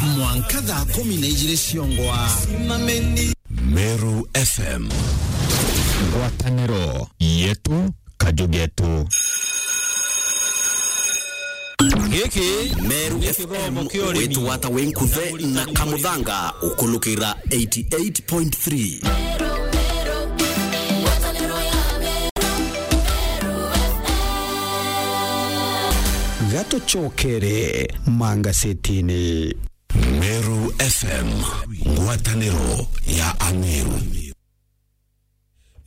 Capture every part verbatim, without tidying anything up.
Mwanka thaa kumi na ijiri ciongwa. Meru F M. Ngwataniro yetu, kaju getu. Giki Meru F M, witwata winkuthe na kamuthanga ukulukira eighty-eight point three. Gatucokere mangasetini. Meru F M, ngwataniro ya Ameru.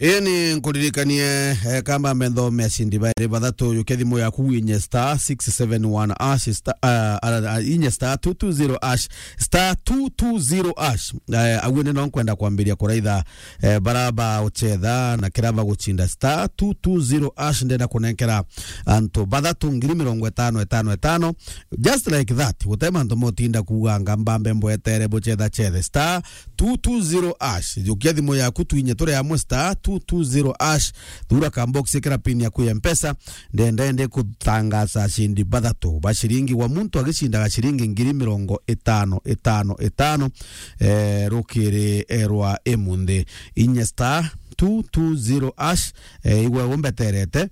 Ii ni nkuririkanie, eh, kamba mbe nthome acindi bairi bathatu, yukia thimu yaku winye star six seven one hash, star, ah, ah, ah, inye star two two zero hash, star two two zero hash. Eh, aguo ni no nkwenda kwambiria kuraitha, eh, bara ba uchetha na kira ba gucinda star two two zero hash. Ndenda kunenkera antu bathatu ngiri mirongo itano, itano, itano. Just like that, gute mantu motinda kuuganga mbambe mbwetere bucetha cethe. Star two two zero hash. Jukia thimu yaku twinye turi amwe star two two zero hash. Thura ka box, ikira pin yaku ya Mpesa. Ndenda ndi kutangaza acindi bathatu ba ciringi, wa muntu agicindaga ciringi ngiri mirongo itano, itano, itano, eh, rukiri, eh, rwa imunthi. Inye star two two zero hash, eh, igwe umbeterete.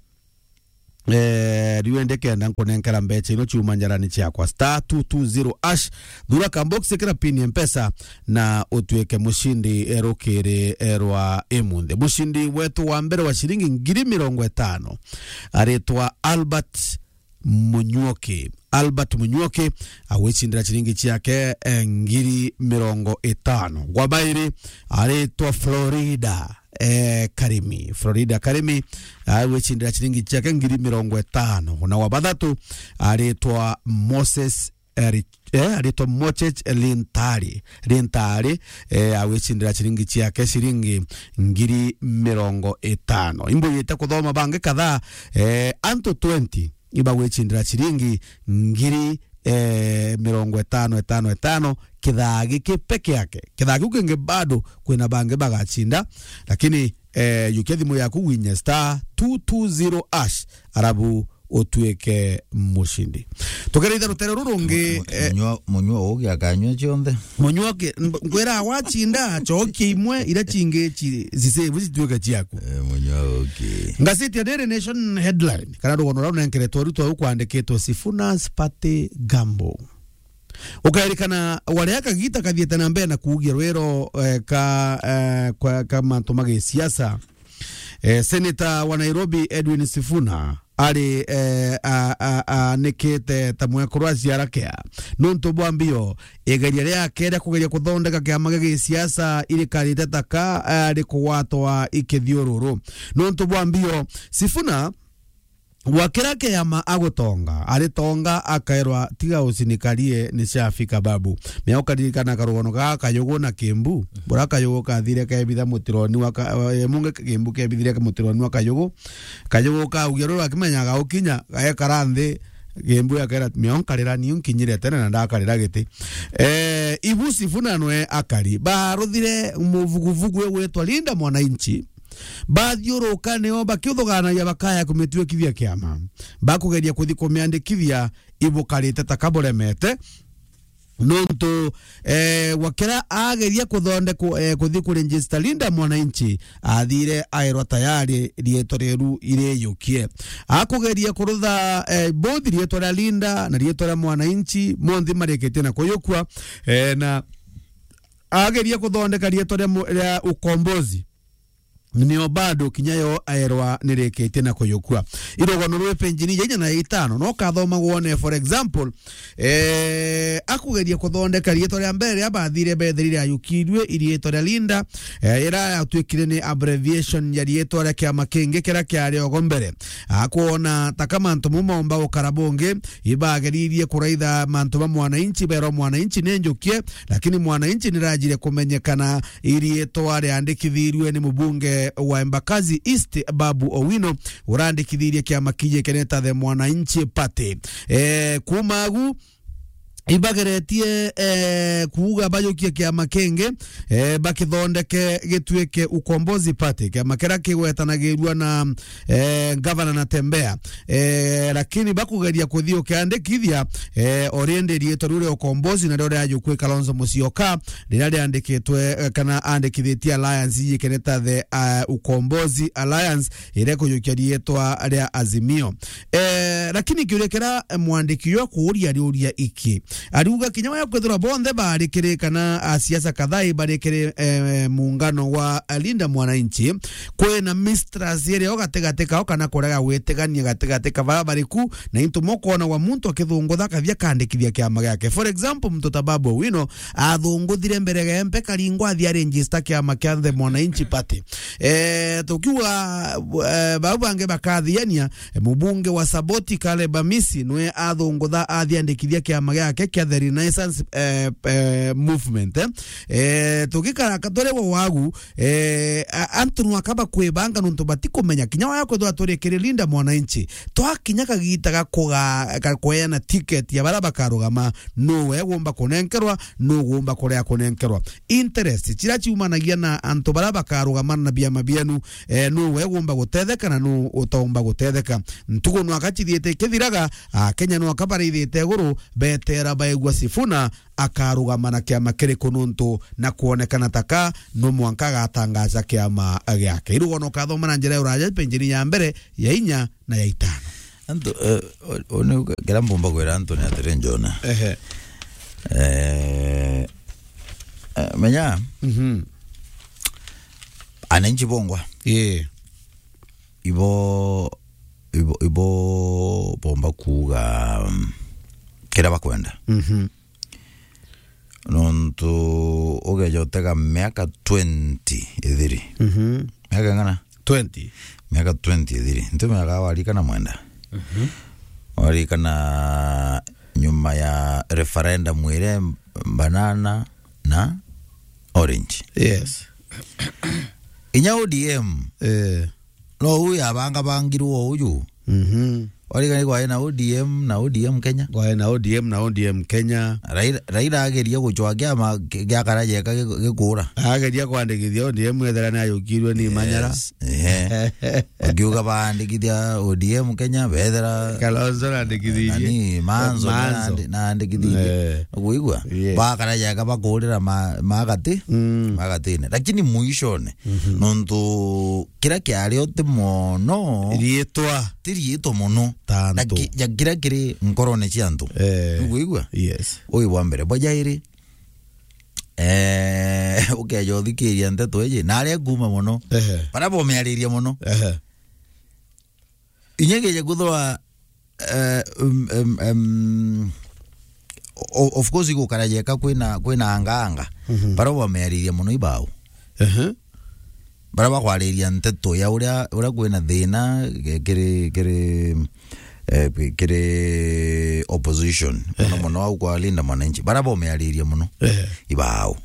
Eh, riu indi kenda nkunenkera mbecha ino ciuma njarani ciakwa. Star two two zero hash, thura ka box, ikira pin ya Mpesa na utuike mucindi, eh, rukiri, eh, rwa imunthi. Mucindi wetu wa mbere wa ciringi ngiri mirongo itano aritwa Albert Munyuoki. Albert Munyuoki agwicindira ciringi ciake, eh, ngiri mirongo itano. Gwa bairi aritwa Florida, eh, Karimi. Florida Karimi agwicindira ciringi ciake ngiri mirongo itano. Na wa bathatu aritwa Moses, eh, Rich-, eh, aritwa Mochech Lintari. Lintari, eh, agwicindira ciringi ciake ciringi ngiri mirongo itano. Imbuyite kuthoma bangi kadhaa, eh, antu twenty ibagwicindira ciringi ngiri, eh, mirongo itano, itano, itano, kithaa giki peke yake. Kithaa kiu kingi bado kwina bangi bagacinda, lakini, eh, yukia thimu yaku winye star two two zero hash, arabu utuike mucindi. Tugereitha rutere ruru rungi, Mu-, mu-, eh, munyua, munyua ugi akanyua cionthe. Munyuoki, mb-, ngwira wacinda, cokia imwe, ira cingi ci-, cisevu cituike ciaku. Eh, munyua ugi. Ngaciti ya Daily Nation headline, kana rugono rau nenkeretwe rutwa rukwandikitwe Sifuna's Party Gamble. Ukairikana waria kagita kathiete na mbere na kuugia rwiro, eh, ka, eh, kwa, ka mantu ma gisiasa. Eh, Senator wa Nairobi Edwin Sifuna ari, eh, a, a, a, anikite ta mwekuru aciara kea. Nontu bwa mbio, igeria riake ria kugeria kuthondeka kiama gia gisiasa irikarite ta ka, eh, rikugwatwa ikithiururu. Nontu bwa mbio, Sifuna gwakira kiama agutonga, aritonga akairwa, "Tiga ucinikarie, ni ciafika babu." Mea ukaririkana karugono ga Kayugu na Kimbu, bura Kayugu kathire kebitha mutironi wa ka-, eh, munge Kimbu kebithire mutironi wa Kayugu. Kayugu kaugia ruru akimenyaga ukinya, gaekara nthi, Kimbu akera, "Mea nkarira niu nkinyire tene na ndakarira giti." Eh, ibu Sifuna nwe akari. Baruthire muvuguvugu igwitwa Linda Mwananchi. Bathiuruka nio bakiuthuganagia bakaya kumituikithia kiama. Bakugeria kuthi kumiandikithia ibukarite ta kaburemete. Nontu, eh, wakira ageria kuthondekwa, eh, kuthi kuregister Linda Mwananchi, athire airwa tayari rietwa rieru iriyukie. Akugeria kurutha, eh, both rietwa ria Linda na rietwa ria Mwananchi, monthe marikitie na kuyukua, eh, na ageria kuthondeka rietwa ria mu-, ria Ukombozi. Nio bado kinya yo aerwa nirikitie na kuyukua. Irogono rwi penjini ya inya na ya itano, no kathoma gwone, for example, eh, akugeria kuthondeka rietwa ria mbere ria bathire bethirire ayukirue, irietwa ria Linda, eh, ira yatuikire ni abbreviation ya rietwa ria kiama kingi kiria kiari ogo mbere. Akwona ta ka mantu mau maumba gukara bungi, ibageririe kuraitha mantu ba Mwananchi, berwa Mwananchi ni njukie, lakini Mwananchi nirajire kumenyekana irietwa riandikithirue ni mubunge wa Embakasi East, Babu Owino, urandikithirie kiama kinyikene ta The Mwananchi Party. Eh, kuma agu, ibageretie, eh, kuuga bajukie kiama kingi, eh, bakithondeke gituike Ukombozi Party, kiama kiria kigwetanagirua na, eh, Gavana Natembeya. Eh, lakini bakugeria kuthii ukiandikithia, eh, already riitwa riu ria Ukombozi nario riajukwi Kalonzo Musyoka, riria riandikitwe, eh, kana andikithitie alliance iji kene ta the, eh, Ukombozi Alliance, iria ikujukia riitwa ria Azimio. Eh, lakini kiuria kiria mwandiki uyu akuuria ariuria iki. Ariuga kinya waya kwithirwa bonthe bari kiri kana a siasa kadhaa bari kiri, eh, muungano wa Linda Mwananchi, kwina mistrust irio gatigati kao kana kurega gwitigania gatigati ka bara bari ku, na into mukwona wa muntu akithungutha akathia kandikithia kiama giake. For example, muntu ta Babu Owino athunguthire mbere ya M P karingwa athia register kiama kia The Mwananchi Party. Eh, tukiuga, eh, bau bangi bakathiania, eh, mubunge wa Saboti Caleb Amisi nwe athungutha athiandikithia kiama giake kia The Renaissance, eh, eh, Movement, eh. Eh, tugikara katore wa wagu, eh, a-, antu nwaka bakwibanga nuntu batikumenya. Kinya waya kwithwa turi kiri Linda Mwananchi, twakinya kagita ga kuga-, ga kweana ticket ya bara bakarugama, nuwe gumba kunenkerwa, nu gumba kuria kunenkerwa. Interest, ciria ciumanagia na antu bara bakarugama na biama bienu, eh, nu we gumba gutetheka na nu utaumba gutetheka. Ntugu nwaka cithiite ikithiraga, Akenya nwaka baraithite iguru, betera baigua Sifuna akarugama na kiama kiriku nuntu na kwonekana taka nu mwanka agatangaza kiama giake. Irugono ukathoma na njira ya uraja, penjini ya mbere, ya inya na ya itano. Antu, eh, o-, o-, ni uga, kira mbumba kwira antu ni atiri, Njona. Ehe. Eh, eh, menya, Mhm. ananchi bongwa. Ii. Ibo, ibo, ibo bomba kuuga, mm, kira bakwenda. Mhm. Nontu ugeja utega miaka twenty ithiri. Mhm. Miaka ing'ana? Twenty. Miaka twenty ithiri. Nti miaka warikana mwenda. Mhm. Warikana nyuma ya referendum iria banana na orange. Yes. Inya O D M. Eh. No uyu yabangabangirwo uyu. Mhm. Warigani kwae na O D M, na O D M Kenya. Kwae na O D M, na O D M Kenya. Raila, Raila ageria gucwa kiama ki-, gia Karajeka gi-, gikura. Ageria kwandikithia O D M ethera ni ayukirwe ni Manyara. Yes. Ehe. Akiuga baandikithia O D M Kenya, bethera Kalonzo naandikithirie. Nani, Manzo, Manzo. Naandi-, naandikithirie. Eh. Ukuigua? Yes. Ba Karajeka bakurira ma-, magati, Mm. magatine. Lakini mwishone, Mhm. nontu kiria kiari o ti mono. Riitwa. Ti riitwa mono. Tantu. Na ki-, ja kiria kiri nkorone cia antu. Eh. Nukwigua? Yes. Uyu bwa mbere. Bwa jairi, eh, ukeja uthikiria nteto iji, na aria kuuma mono. Ehe. Bara bomiariria mono. Ehe. Inya ngeja kwithirwa, eh, um, um, um, o-, of course, igukara jeka kwina, kwina anga anga. Mhm. Bara bwameariria mono ibao. Ehe. Bara bakwariria nteto ya uria, uria kwina thina, ke-, kiri, kiri, eh, kiri opposition. Mono Ehe. mono au kwa Linda Mwananchi. Bara bomeariria mono. Ehe. Ibao.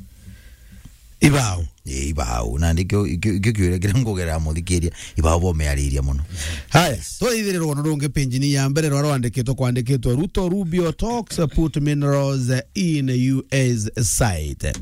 Ibao. Ii, ibao. Na ndikio, ikio, ikio kiuria kiria ngugerera muthikiria, ibao bomeariria mono. Haya, twaithire rwono rungi penjini ya mbere rwa rwandikitwe, kwandikitwe, "Ruto Rubio talks put minerals in U S site."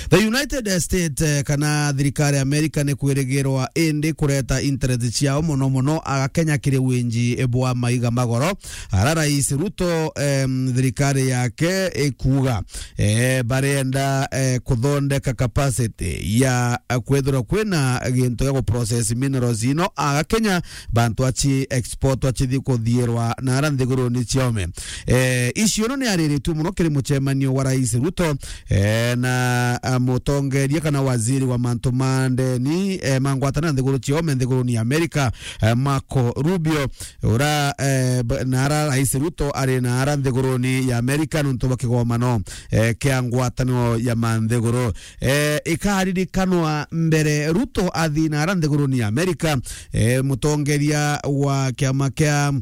The United States, eh, kana thirikari ya America ni kwirigirwa indi kureta interest ciao mono mono aga Kenya kiri winji bwa maiga magoro. Ara Rais Ruto, em, thirikari yake ikuuga, eh, barenda, eh, kuthondeka capacity ya, eh, kwethirwa kwina gintu gia guprocess minerals ino aga Kenya, bantu aci export acithi kuthiirwa na ara nthiguruni ciome. Eh, icio no ni ariritue mono kiri mucemanio wa Rais Ruto, eh, na, ah, mutongeria kana waziri wa mantu ma ndeni, eh, ma ngwataniro nthiguru ciome nthiguruni ya America, eh, Marco Rubio. Ura, eh, b-, na ara Rais Ruto ari na ara nthiguruni ya Amerika nuntu bwa kigomano, eh, kia ngwataniro ya manthiguru. Eh, ikaririkanwa mbere Ruto athi na ara nthiguruni ya Amerika, eh, mutongeria wa kiama kia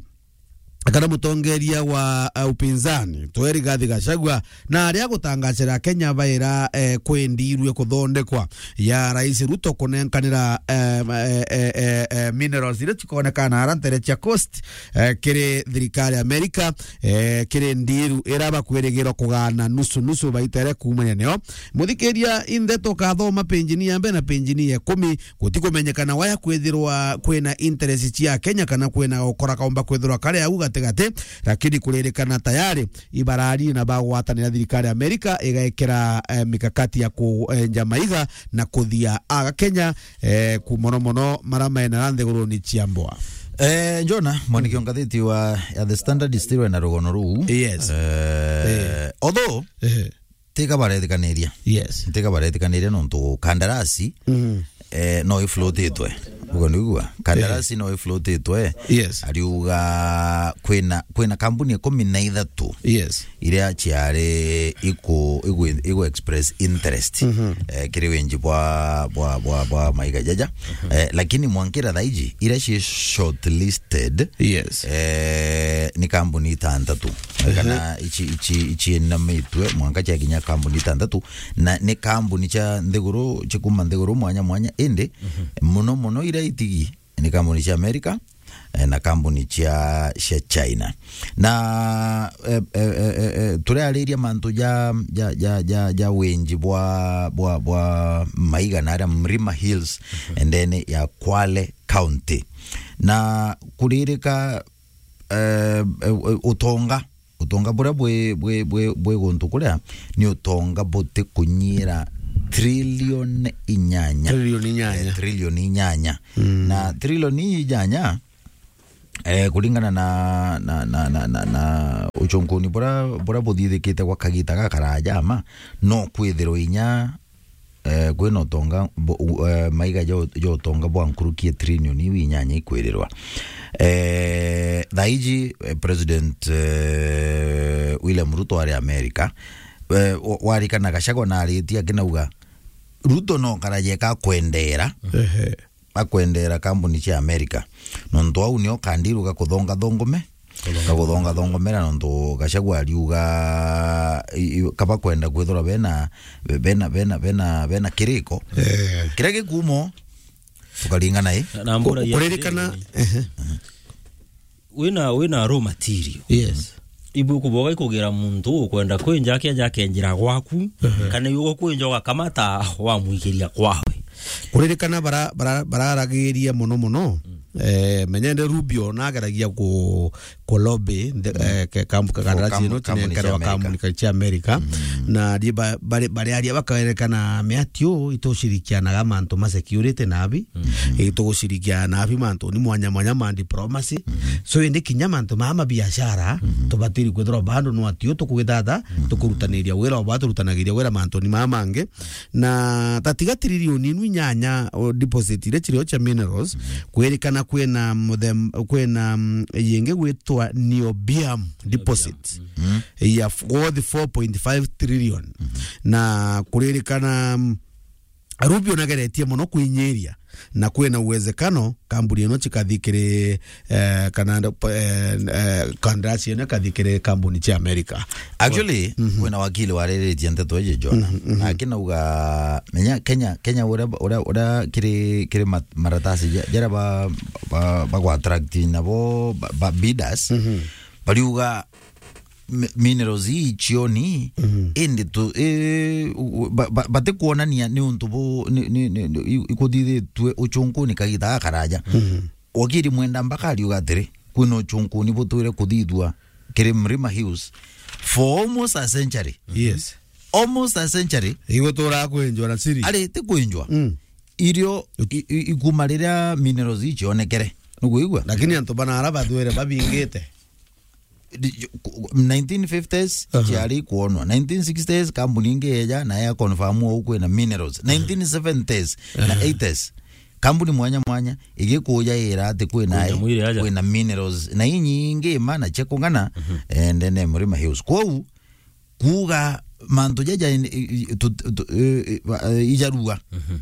kana mutongeria wa, eh, upinzani, twe Rigathi Gachagua, na aria gutangacira Kenya baira, eh, kwendirwe kuthondekwa ya Rais Ruto kunenkanira, eh, eh, eh, eh, eh, minerals iria cikonekana ara ntere cia Coast, eh, kiri thirikari ya Amerika, eh, kiri ndiru ira bakwirigirwa kugana nusu nusu baita iria kuumania nio. Muthikiria, i ndeto kathoma penjini ya mbere na penjini ya ikumi, gutikumenyekana waya kwithirwa kwina interest cia Kenya kana kwina gukora kaumba kwithirwa kari au gatigati, lakini kuririkana tayari ibarari na bagwatanira thirikari ya Amerika igaikira, eh, mikakati ya kuenja maiga na kuthia aga Kenya, eh, ku mono mono mara maenera nthiguruni cia mbwa. Eh, Jona, mwandiki wa ngatheti wa, ya The Standard still ena rugono ruu. Yes. Eh, Eh. Although, Eh. Tiga baretikaniria. Yes. Tiga baretikaniria nontu kandarasi, Mm. eh, no iflotitwe. Ugo nigua? Kandarasi Eh. no iflotitwe. Yes. Ariuga kwina, kwina kampuni ikumi na ithatu Yes. iria ciari iku, igu, igu express interest, Mhm. eh, kiri winji bwa, bwa, bwa, bwa maiga jaja. Mhm. Eh, lakini mwankira thaiji, iria ci shortlisted, Yes. eh, ni kampuni itantatu. Ehe. Kana ici, ici, ici inamitwe, mwanka ciakinya kampuni itantatu, na ni kampuni cia nthiguru, cikuma nthiguru mwanya mwanya, indi Mhm. muno muno iria itigi ni kampuni cia Amerika, eh, na kampuni cia, cia China. Na, eh, eh, eh, eh, eh, turiariria mantu ja, ja, ja, ja, ja winji bwa, bwa, bwa maiga na aria Mlima Hills, Mhm. ndene ya Kwale County. Na kuririka, eh, eh, utonga, utonga buria bwi, bwi, bwi, bwi guntu kuria ni utonga buti kunyira trilioni inyanya. Trilioni inyanya. Eh, trilioni inyanya. Mm. Na trilioni inyanya, eh, kuringana na, na, na, na, na, na uchunkuni buria, buria buthithikite gwa kagita gakaraja ama, no kwithirwa inya eh, kwina utonga, bo-, u-, eh, maiga jo, jo utonga bwa nkuruki ya trilioni iu inyanya ikwirirwa. Eh, thaiji, eh, President, eh, William Ruto ari America, eh, wa-, warikana Gachagua na aritie akinauga, Ruto no karaje ka kwendera. Ehe. Akwendera kampuni cia Amerika. Nontu au nio kandiru ga kuthonga thongome. Kuthonga. Ga kuthonga thongomera nontu Gachagua ariuga, i-, i-, kaba kwenda kwithirwa bena, bena, bena, bena, bena kiriko. Eh. Kiria gikumo, tukaringana, i? Na mbura Ku-, ya kuririkana, atiri, ehe. Wina, wina raw material. Yes. Ibu kuboga ikugira muntu ukwenda kwinja akenja akenjira gwaku, Mhm. kana iwe kwinja ugakamata wamwikiria kwawe. Kuririkana bara-, bara-, bararagiria muno muno, Mm. eh, menyende Rubio nageragia ku-, ku lobby, the, Mm. eh, ke-, kampu-, For kakandarasi kam-, ino kampuni cia tinenkerwa Amerika. Kampuni cia Amerika. Mm. Na ri ba-, bari-, bariaria bakaerekana miatio itucirikianaga mantu ma security na abi. Mhm. Itugucirikia na abi mantu ni mwanya mwanya ma diplomacy. Mhm. So, indi kinya mantu maa ma biashara, Mhm. tubatiri kwithirwa bado no atio tukugitata, Mhm. tukurutaniria wira o ba turutanagiria wira mantu ni maa mangi. Na tatiga trilioni inu inyanya, o, deposit iria cirio cia minerals, Mhm. kwirikana kwina muthem-, kwina, mm, yingi gwitwa niobium deposit. Mhm. Ya f-, worth four point five trillion. Mhm. Na kuririkana, mm, Rubio nageretie mono kwinyiria na kwina uwezekano kambuni ino cikathi kiri, eh, kana ndo-, eh, eh, kandarasi ino ikathi kiri kambuni cia Amerika. Actually, Mhm. kwina wakili wariritie nteto iji, Jona. Mhm, mhm. Na akinauga, menya Kenya, Kenya uria, uria, uria kiri, kiri mat-, maratasi ja-, jaria ba, ba, bagwa attract nabo ba, ba bidders, Mhm. bariuga mi-, minerals ii cioni, Mhm. indi tu, i, u-, u-, ba-, ba-, batikuonania ni untu bu, ni, ni, ni, ni, i-, ikuthithitue uchunkuni kagita gakaraja. Mhm. Wakiri Mwenda Mbaka ariuga atiri, kwina uchunkuni butwire kuthithua kiri Mlima Hills for almost a century. Yes. Almost a century. Iguturaga kwinjwa na siri. Ari, ti kwinjwa. Mm. Irio, i, i, ikuma riria minerals ii cionekere. Nukwigua? Lakini antu bana ara bathwire babingite. Di-, nineteen fifties, Aha. ciari kuonwa. Nineteen sixties, kambuni ingi yeja na ya confirm au kwina minerals. Nineteen seventies na Aha. eighties, kambuni mwanya mwanya igikuja ira ati kwina Kwina ai, mwiri aja. kwina minerals. Na inyingi mana cia kung'ana, Mhm. eh, ndene Mlima Hills. Kwou, kuuga mantu jaja in-, i-, i-, tu-, tu-, eh, eh, ba-, eh, ijarua. Mhm.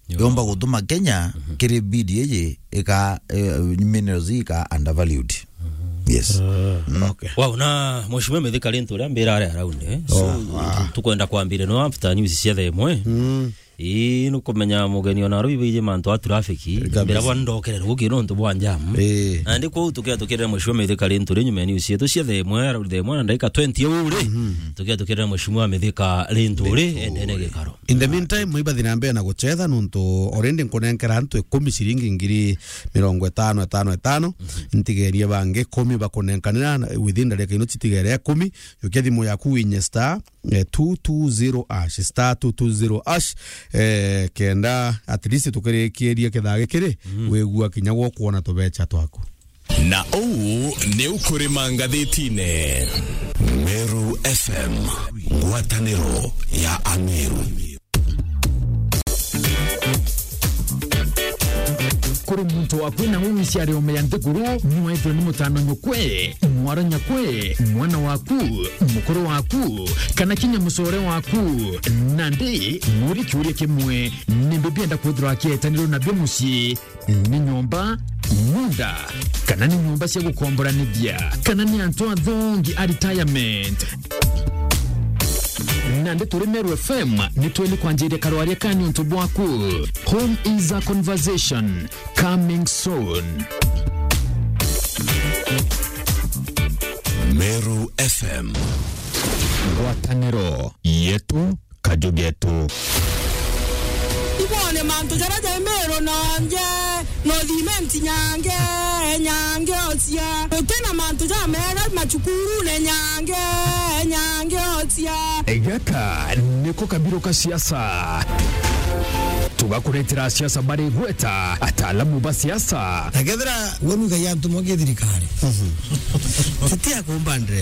Yo. Yomba gutuma Kenya Mhm. kiri bid iji ika, eh, minerals ika undervalued. Mhm. Yes. Mm. Okay. Wow, na Mheshimiwa Mithika Linturi ambira ari around, eh? So, oh, wow, tu-, tukwenda kwambire no after news cia thaa imwe. Mm. Ii, nukumenya mugeni ona aru ibaiji mantu a traffic, kabisa, mbira bwa ndokere rugi nontu bwa jam. Ii. Na ndi kwou tukia tukirira Mheshimiwa Mithika Linturi nyuma ya news yetu cia thaa imwe, around thaa imwe na ndagika twenty uu ri. Mhm. Tukia tukirira Mheshimiwa Mithika Linturi, Linturi, endene gikaro. In the meantime, mwibathi na mbere na guchetha nontu already nkunenkera antu ikumi ciringi ngiri mirongo itano, itano, itano. Mhm. Ntigerie bangi ikumi bakunenkanira within ndarika ino citigere ikumi. Jukia thimu yaku winye star, eh, two two zero hash, star two two zero hash, eh, kenda at least tukirikirie kithaa gikiri, mm, wigua kinya gwo kwona tubecha twaku. Na uu ni ukurima ngathitine. Meru F M, ngwataniro ya Ameru. Kuri muntu wakwina uu iciari ome ya nthiguru, nwethwe ni mutano nyukwe, mwara nyakwe, mwana waku, mukuru waku, kana kinya mucore waku. Nandi, muri kiuria kimwe, nimbi bienda kwithirwa akietanirwo nabio mucii? Ni nyomba, munda, kana ni nyomba cia gukomboranithia, kana ni antu athongi a retirement? Nandi turi Meru F M, ni tweli kwanjiria karwaria ka niuntu bwaku. Home is a conversation, coming soon. Meru F M. Ngwataniro yetu, kaju getu. Ibone mantu jaria jai Meru nonje, no thimenti nyange, nyange ocia. Gutina mantu jamega macukurune nyange, nyange ocia. Gaka niko kabiru ka siasa. Tugakuretera siasa bari gweta, ataalamu ba siasa. Na kethira we nuigagia antu mogie thirikari. Mhm. Titia kumba ndress.